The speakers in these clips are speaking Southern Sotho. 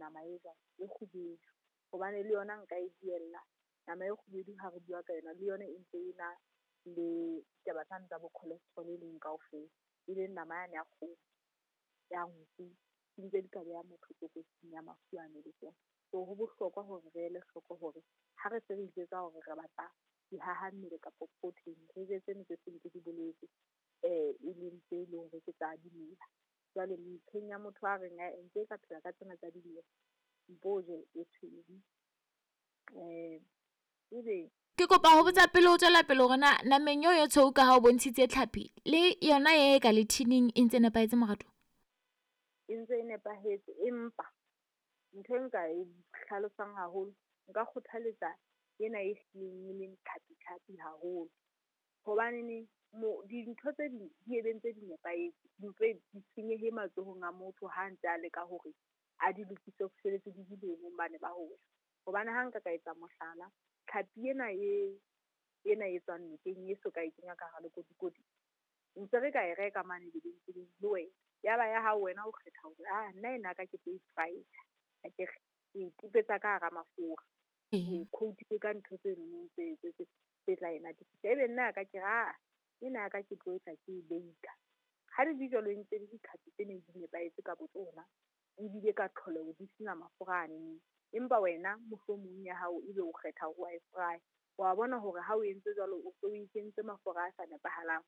Nama e jwang? E kgubedu, hobane le yona nka e buella. Nama e kgubedu ha re bua ka yona, le yona e ntse e na le ditaba tsane tsa bo cholesterol e leng kaofela, e leng nama yane ya kgomo, ya nku, di ntse di ka beha motho tlokotsing ya mafu ano le tsona. So ho bohlokwa hore re ele hloko hore ha re se re ijwetsa hore re batla dihaha mmele kapa protein, re je tseno tse seng ke di boletse, e leng tse leng hore ke tsa dimela. Jwale metjheng ya motho a reng ae nke ka phela ka tsena tsa dimela, mpo je e tshweu. Ebe Ke kopa ho botsa pele ho tswela pele hore na nameng eo ya tshweu ka ha o bontshitse tlhapi le yona e ka le thining e ntse nepahetse moratuwa? E ntse e nepahetse, empa ntho e nka e hlalosang haholo, nka kgothaletsa ena e hlileng e leng tlhapi-tlhapi haholo. Hobaneneng dintho tse ding di ebe ntse di nepahetse, mpe di senyehe matsohong a motho ha ntse a leka hore a di lokise ho fihlelletse di le boemong bane ba ho ja. Hobane ha nka ka etsa mohlala, tlhapi ena e ena e tswang nokeng e soka e kenya ka hara lekotikoti, ntse re ka e reka mane lebenkeleng le wena. Ya ba ya hao wena o kgetha hore nna ena ya ka ke tlo e fry-a, akere ke e kupetsa ka hara mafura, ke coat-ile ka ntho tse nonong tse tla e natefisa. Ebe nna ya ka ke re ena ya ka ke tlo etsa ke e bake-a. Ha di le jwalo e ntse le ditlhapi tse neng di nepahetse ka botsona, ebile ka tlholeho di sena mafura anene. Empa wena mohlomong ya hao ebe o kgetha hore wa e fry-a. Wa bona hore ha o entse jwalo, o so o e kentse mafura a sa nepahalang,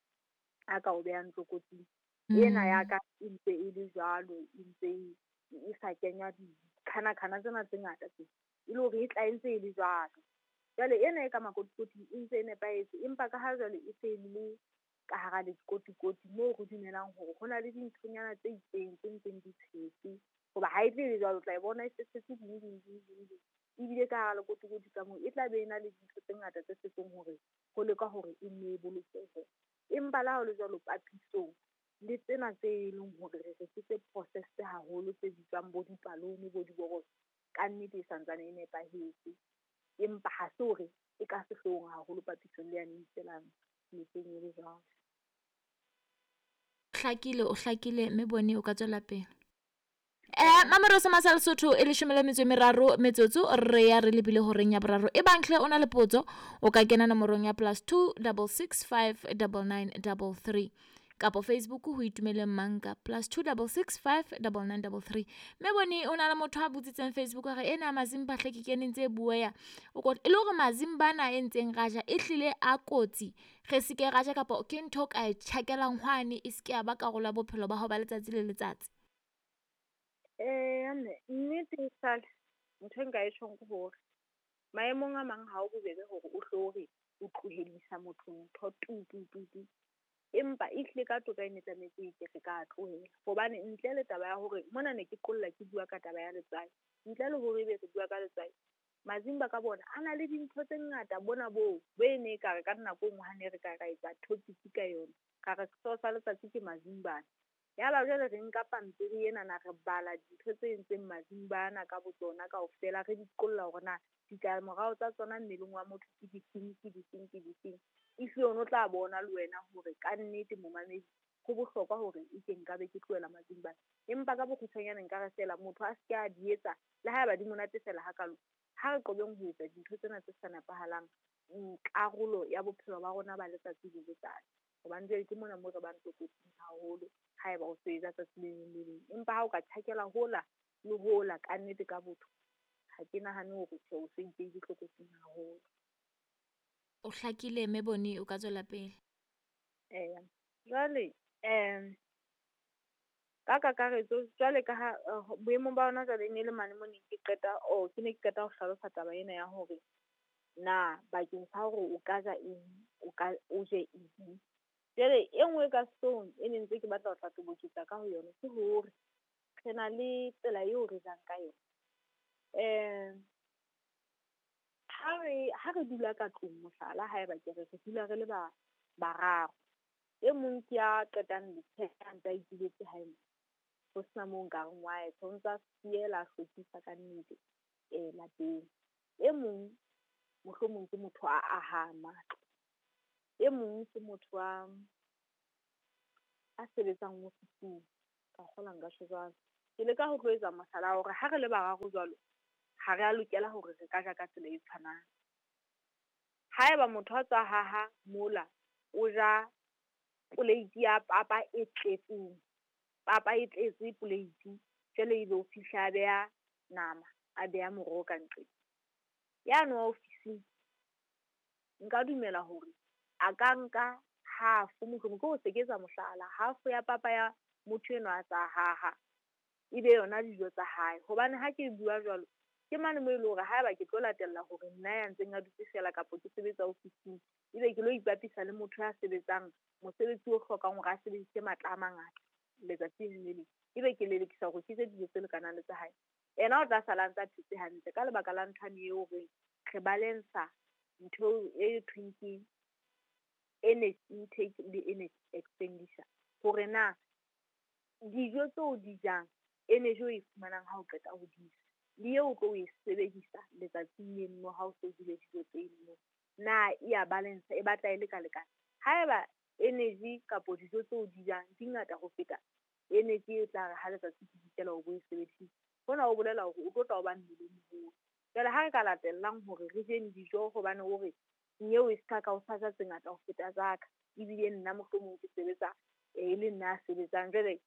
a ka o behang tlokotsing. Ena ya ka e ntse e le jwalo, e ntse e sa kenywa dikhana-khana tsena tse ngata tse, e le hore e tla e ntse e le jwalo. Jwale ena e ka makotikoting e ntse e nepahetse, empa ka ha jwale e se le ka hara lekotikoti moo re dumelang hore ho na le dinthonyana tse itseng tse ntseng di tshetse. Hoba ha e tle e le jwalo, o tla e bona e se tshetse ding ding ding ding ding. Ebile ka hara lekotikoti ka moo e tla be e na le dintho tse ngata tse setseng hore ho leka hore e nne e bolokehe. Empa le ha ho le jwalo, papisong le tsena tse leng hore re re ke tse processed haholo, tse bitswang bo dipalone, bo diborotso, ka nnete e santsane e nepahetse. Empa ha se hore e ka sehloohong haholo papisong le yane e itswelang nokeng e le jwalo. Hlakile, o hlakile mme Bone o ka tswela pele. Mamelo sa Masa Lesotho e 13 metsotso re ya re lebile horeng ya boraro. E bang hle o na le potso o ka kena nomorong ya +2 6 6 5 99 33 kapo Facebook ho Itumeleng Manka +2 6 6 5 99 33. Mme Bone o na le motho a botsitseng Facebook hore ena mazimba hle ke kene ntse bueya. O e le hore mazimba ana e ntseng raja e hlile a kotsi, re se ke raja kapa ke ntho ka e tjhakelang hwane e se ke ya ba karolo ya bophelo ba hao ba letsatsi le letsatsi? Mme nnete e sale ntho e nka e tjhong ke hore maemong a mang ha o bobebe hore o hlo re o tlohedisa motho ntho tu tu tu tu. Empa ehlile ka toka e ne tlametse e ke re ka tlohela. Hobane ntle le taba ya hore mona ne ke qolla ke bua ka taba ya letswai, ntle le hore ebe re bua ka letswai, mazimba ka bona a na le dintho tse ngata bona boo bo e ne e ka re ka nako e nngwe ha ne re ka ra etsa topic ka yona, ka re sehlooho sa letsatsi ke mazimbana. Ya ba jwale re nka pampiri ena na re bala dintho tse entseng mazimbana ka botsona kaofela, re di qolla hore na ditlamorao tsa tsona mmeleng wa motho ke difeng, ke difeng, ke difeng. Ehlile o no tla bona le wena hore kannete momamedi ho bohlokwa hore e ke nka be ke tlohela mazimbana. Empa ka bokgutshwanyane nka re feela motho a se ke a di etsa le haeba di monate feela hakalo. Ha re qobeng ho etsa dintho tsena tse sa nepahalang karolo ya bophelo ba rona ba letsatsi le letsatsi. Hobane jwale ke mona moo re bang tlokotsing haholo haeba o se ja tsatsi le leng le leng. Empa ha o ka tjhakela hola le hola kannete ka botho, ha ke nahane hore tjhe o so ipehile tlokotsing haholo. O hlakile mme Bone o ka tswela pele. Eya, jwale ka kakaretso jwale ka ha boemong ba hona jwale e ne le mane mo neng ke qeta ke ne ke qeta ho hlalosa taba ena ya hore na bakeng sa hore o ka ja eng, o ka o je eng. Jwale e nngwe ka sehloohong e ne ntse ke batla ho tla toboketsa ka ho yona ke hore re na le tsela eo re jang ka yona. Ha re dula ka tlung mohlala, haeba ke re re dula re le ba bararo, e mong ke ya qetang letsheare a ntse a ituletse hae, ho sena moo nkareng wa ya, o ntsa fiela, a hlwekisa ka nnete lapeng. E mong mohlomong ke motho a ahang matlo, e mong ke motho a sebetsang ofising, ka kgolwa nka tjho jwalo. Ke leka ho tlo etsa mohlala hore ha re le bararo jwalo, ha re a lokela hore re ka ja ka tsela e tshwanang. Haeba motho a tswa haha mola, o ja poleiti ya papa e tletseng, papa e tletse poleiti, jwale ebe o fihla a beha nama, a beha moroho ka nqeng. Yane wa ofising nka dumela hore a ka nka half mohlomong, ke hore se ke etsa mohlala, half ya papa ya motho enwa a tsa haha, ebe yona dijo tsa hae. Hobane ha ke bua jwalo, ke mane moo e leng hore haeba ke tlo latella hore nna ya ntseng a dutse feela kapa ke sebetsa ofising, ebe ke lo ipapisa le motho ya sebetsang mosebetsi o hlokang hore a sebedise matla a mangata letsatsi le leng, ebe ke lelekisa hore ke je dijo tse lekanang le tsa hae. Yena o tla sala a ntse a phetse hantle ka lebaka la nthwane eo horeng re balance-a ntho e thweng ke energy intake le energy expenditure. Hore na dijo tseo di jang, energy o e fumanang ha o qeta ho di ja, le eo o tlo e sebedisa letsatsing leno ha o so jele dijo tseno, na e ya balance, e batla e leka-lekana. Haeba energy kapo dijo tseo di jang di ngata ho feta energy e tla re ha letsatsi le dikela o bo e sebedisitse, hona ho bolela hore o tlo tla o ba mmele o moholo. Jwale ha re ka latellang hore re jeng dijo hobane o re nyeo e ska ka o sa ja tse ngata ho feta tsa ka, ebile nna mohlomong ke sebetsa e le nna a sebetsang jwale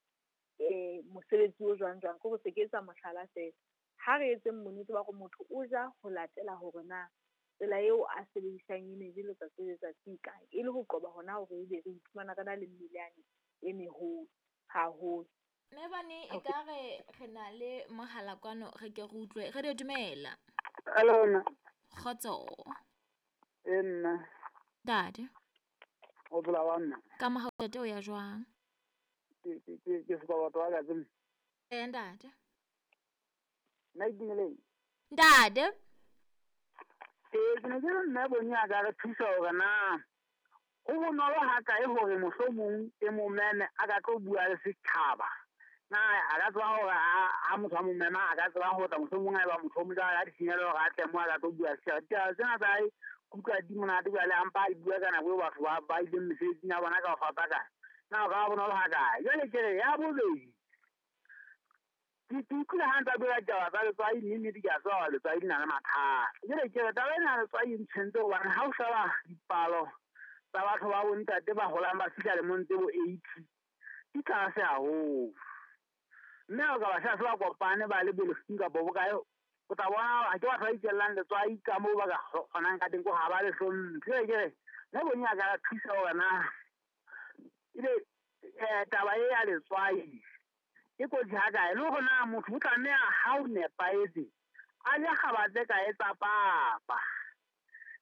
mosebetsi o jwang jwang, ke hore se ke etsa mohlala feela. Ha re etseng bonnete ba hore motho o ja ho latela hore na tsela eo a sebedisang energy letsatsi le letsatsi e kae, e le ho qoba hona hore ebe re iphumana re na le mmele yane e meholo haholo. Mme bane e ka re re na le mohala kwano, re ke re utlwe. Radio dumela. Hello nna. Kgotso. E nna. Ntate. O phela wa nna. Ka mohau ntate o ya jwang? Ke sopa batho ba ka tsena. Eh ntate. Nna itumeleng. Ntate. Ke ne ke re mme Boni a ka re thusa hore na ho bonolo ha kae hore mohlomong e mo meme a ka tlo bua le setjhaba. Na a ka tseba hore ha motho a mo mema a ka tseba ho tla mohlomong ha eba motho o mo jala ka ditshenyehelo hore a tle mo a ka tlo bua setjhaba. Ditaba tsena tsa hae kutlwa di monate jwale a mpa a di bua ka nako eo batho ba ileng mesebetsing ya bona ka ho fapakana. Na o ka bonolo ha kae? Jwale ke re ya bobedi, ke utlwile ha ntse a bua ditaba tsa letswai, mme nnete ke a tseba hore letswai le na le mathata. Jwale ke re taba ena ya letswai e ntshwentse hobane ha o sheba dipalo tsa batho ba bontate ba holang ba fihla lemong tse bo 80, di tlase haholo. Mme ha o ka ba sheba se ba kopane ba le bolefung kapa bokae, o tla bona ha ke batho ba itjellang letswai ka moo ba ka kgonang ka teng, ko ha ba le hlomphe. Jwale ke re mme Boni a ka thusa hore na ebe taba e ya letswai e kotsi ha kae, le hore na motho o tlameha ha o nepahetse a je kgaba tse kae tsa papa.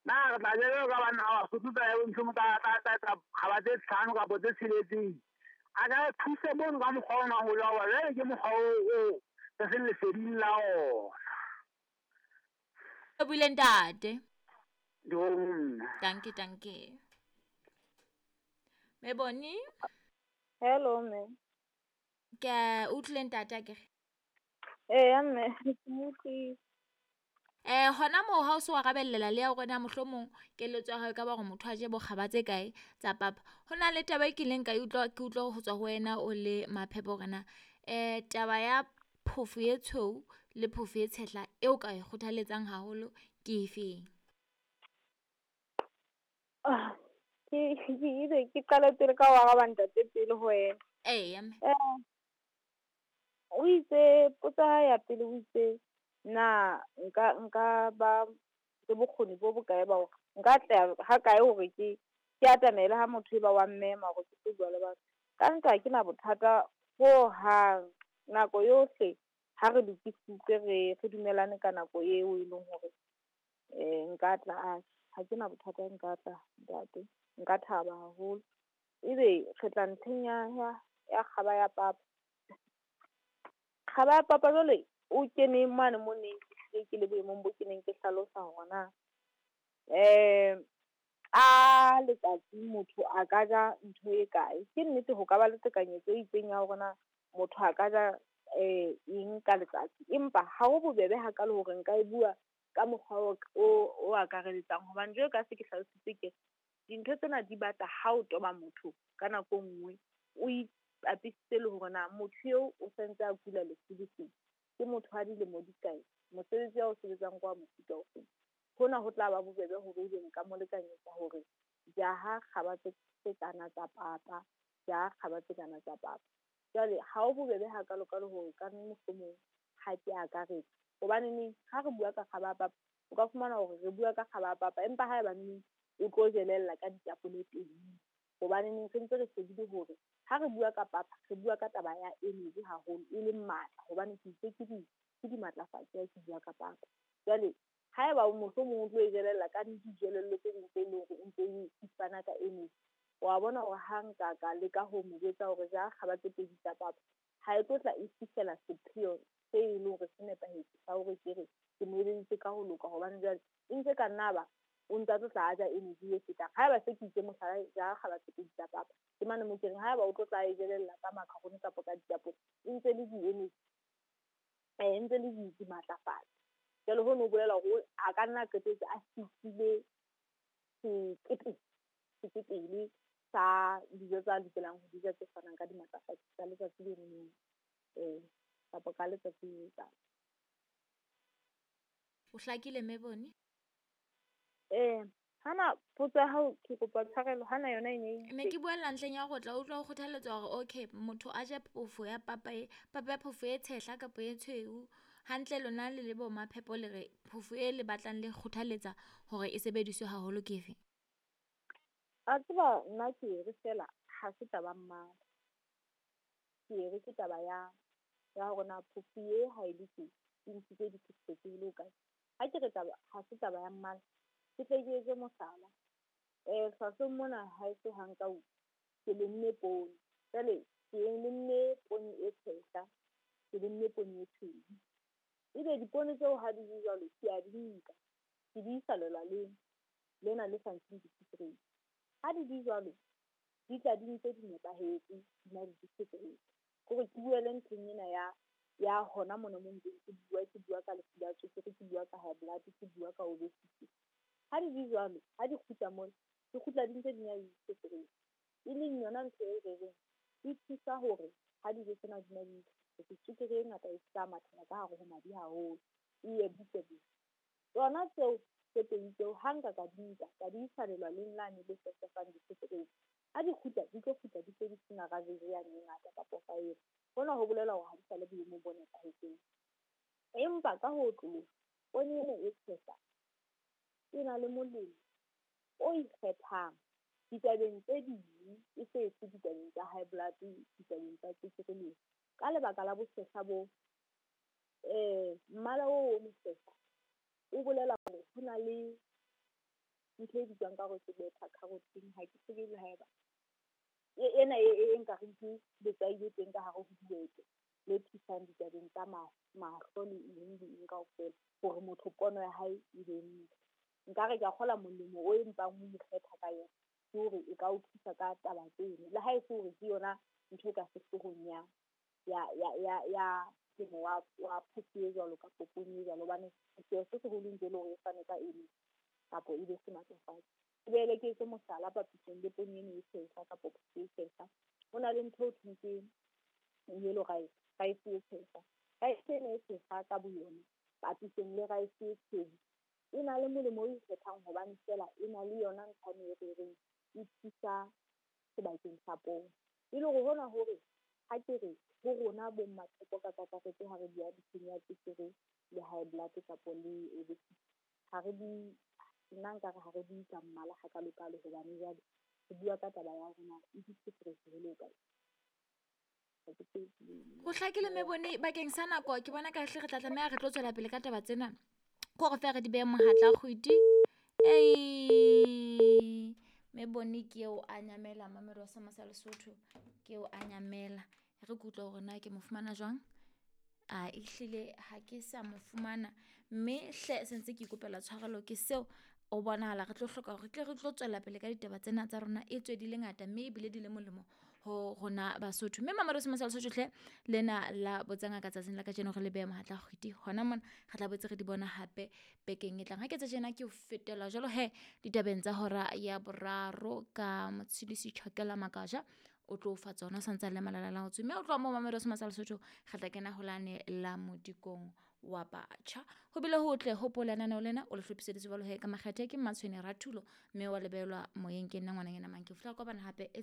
Na re tla jwalo ka banna ba Basotho tsa ntho mo tsa kgaba tse 5 kapa tse 6. A ka thuse mono ka mokgwa ona ho jwa, jwale ke mokgwa o re seng leseding la ona. O buile ntate. Nna. Danke, danke. Mme Boni. Hello mme. Ke utlwile ntate akere? Eya mme, ke mo utlwile. Hona moo ha o se wa arabellela le ya hore na mohlomong keletso ya hao e ka ba hore motho a je bokgaba tse kae tsa papa. Ho na le taba e kileng ka utlwa, ke utlwa ho tswa ho wena o le Maphepo hore na taba ya phofo e tshweu le phofo e tshehla eo ka e kgothaletsang haholo ke efeng? Ke qale pele ka ho araba ntate pele ho wena. Eya mme. O itse potsa ya pele o itse na nka ba le bokgoni bo bokae ba hore nka atleha ha kae hore ke atamele ha motho e ba wa mmema hore ke tlo bua le batho. Ka nnete ha ke na bothata ho hang, nako yohle ha re lokisitse re dumelane ka nako eo e leng hore nka tla, ha ke na bothata nka tla ntate, nka thaba haholo. Ebe re tla ntlheng ya kgaba ya papa. Kgaba ya papa jwale o kene mane mo neng ke le boemong bo ke neng ke hlalosa hore na ka letsatsi motho a ka ja ntho e kae. Ke nnete ho ka ba le tekanyetso e itseng ya hore na motho a ka ja eng ka letsatsi, empa ha ho bobebe hakalo hore nka e bua ka mokgwa o akareletsang. Hobane jwalo ka se ke hlalositse ke dintho tsena di batla ha o toba motho ka nako e nngwe o bapisitse le hore na motho eo o santse a kula lefu le feng, ke motho wa dilemo di kae, mosebetsi wa o sebetsang ke wa mofuta o feng. Hona ho tla ba bobebe hore ebe nka mo lekanyetsa hore jaha kgaba tse kana tsa papa, jaha kgaba tse kana tsa papa. Jwale ha ho bobebe hakalo-kalo hore ka mohlomong ha ke akaretsa. Hobaneneng ha re bua ka kgaba ya papa, o ka fumana hore re bua ka kgaba ya papa empa haebaneng o tlo jelella ka ditapole teng. Hobaneneng re ntse re shebile hore ha re bua ka papa, re bua ka taba ya energy haholo, e leng matla hobane ke itse ke dimatlafatsi ha ke bua ka papa. Jwale haeba mohlomong o tlo e jelella ka dijelello tse ding tse leng hore o ntse e fana ka energy, wa bona hore ha nka ka leka ho mo jwetsa hore ja kgaba tse pedi tsa papa, ha e tlo tla e fihlela sepheo se e leng hore se nepahetse sa hore ke re ke mo eleditse ka ho loka. Hobane jwale e ntse ka nna ba o ntsa tlo tla a ja energy e fetang. Haeba se ke itse mohlala ja kgaba tse pedi tsa papa, ke mane mo ke reng haeba o tlo tla e jelella ka macaroni kapa ka ditapole, e ntse le di-energy, e ntse le dimatlafatsi. Jwale hono ho bolela hore a ka nna qetetse a fihlile sekepele sa dijo tsa lokelang ho di ja tse fanang ka dimatlafatsi tsa letsatsi le leng kapa ka letsatsi le letsatsi. O hlakile mme Boni? Hana potso ya hao ke kopa tshwarelo, hana yona e ne ne ke buella ntleng ya go tla utlwa ho kgothaletswa hore okay motho a je phofo ya papa e papa ya phofo e tshehla kapa e tshweu. Hantle lona le le bo maphepo le re phofo e le batlang le kgothaletsa hore e sebediswe haholo ke efe? A tseba nna ke re fela ha se taba mmala. Ke re ke taba ya hore na phofo e ha e le teng e ntshitse dithethefatsi le hokae. Ha ke re taba ha se taba ya mmala, ke tle ke etse mohlala. Hlwahlweng mona ha e se ha nka ke lemme poone. Jwale ke lemme poone e tshehla, ke lemme poone e tshweu. Ebe dipoone tseo ha di le jwalo ke a di nka, ke di isa lelwaleng lena le sa ntsheng dithethefatsi. Ha di di jwalo, di tla di ntse di nepahetse, di na le dithethefatsi. Kore ke buele ntlheng ena ya hona mona mo ntseng ke bua ka lefu la tswekere, ke bua ka high blood, ke bua ka obesity. Ha di di jwalo, ha di kgutla mona, di kgutla di ntse di na le dithethefatsi. E leng yona ntho e re reng e thusa hore ha dijo tsena di na le dithethefatsi, tswekere e ngata e ska mathela ka hare ho madi haholo, e ye butle butle. Tsona tseo tse pedi tseo ha nka ka di nka, ka di isa lelwaleng lane le fefang dithethefatsi, ha di kgutla di tlo kgutla di se di sena rabeje yane e ngata kapa faele. Hona ho bolela hore ha di sa le boemong bo nepahetseng. Empa ka ho otloloha, poone ena e tshehla e na le molemo o ikgethang ditabeng tse ding, e se se ditabeng tsa high blood, ditabeng tsa tswekere le eng. Ka lebaka la bosehla bo, mmala oo o mosehla o bolela hore ho na le ntho e bitswang ka hore ke beta carotene, ha ke tsebe le haeba ena e nkareng ke letswai le teng ka hare ho dihwete le thusang ditabeng tsa mahlo le eng le eng kaofela hore motho pono ya hae e be ntle. Nkare ke a kgola molemo o empang o ikgetha ka yona ke hore e ka o thusa ka taba tseno, le ha e se hore ke yona ntho e ka sehloohong ya temo wa phofo e jwalo kapa poone e jwalo, hobane seo se seholo ntse le hore e fane ka eng kapa e be sematlafatsi. Ke boele ke etse mohlala papisong le poone ena e tshehla kapa phofo e tshehla. Ho na le ntho e thweng ke yellow rice, rice e tshehla. Rice ena e tshehla ka boyona papisong le rice e tshweu e na le molemo o ikgethang hobane fela e na le yona ntho e re reng e thusa sebakeng sa poone. E le hore hona hore ha ke re ho rona bo mmatshepo ka kakaretso ha re bua ntlheng ya tswekere le high blood kapa le obesity, ha re bue, nna nkare ha re bue ka mmala hakalokalo hobane jwale re bua ka taba ya hore na e dithethefatsi ho le hokae. Ho hlakile mme Boni, bakeng sa nako ke bona ka hle re tla tlameha re tlo tswela pele ka taba tsena. Ke hore feela re di behe mohatla kgwedi. Mme Boni ke eo a nyamela mamelo wa Sama sa Lesotho, ke eo a nyamela. Re ke utlwe hore na ke mo fumana jwang. A ehlile ha ke sa mo fumana, mme hle sentse ke ikopela tshwarelo ke seo o bonahala re tlo hloka hore re tle re tlo tswela pele ka ditaba tsena tsa rona e tswe di le ngata mme ebile di le molemo ho rona Basotho. Mme mamelo sa Lesotho hle lena la botsa ngaka tsatsing la kajeno re le behe mohatla kgwedi hona mona re tla boetse re di bona hape bekeng e tlang. Ha ke etsa tjena ke ho fetela jwalo he ditabeng tsa hora ya boraro ka Motshidisi Chakela Makaja. O tlo o fa tsona o santse a le malalalaotswe, mme o tloha moo mamedi wa Seoma sa Lesotho, re tla kena holane la modikong wa batjha. Ho bile hotle hopola lenaneo lena o le hlophiseditswe jwalo he ka makgethe ke Mmatshwene Rathulo, mme wa lebelwa moyeng ke nna ngwananyana Manke. Ho fihla kopana hape e.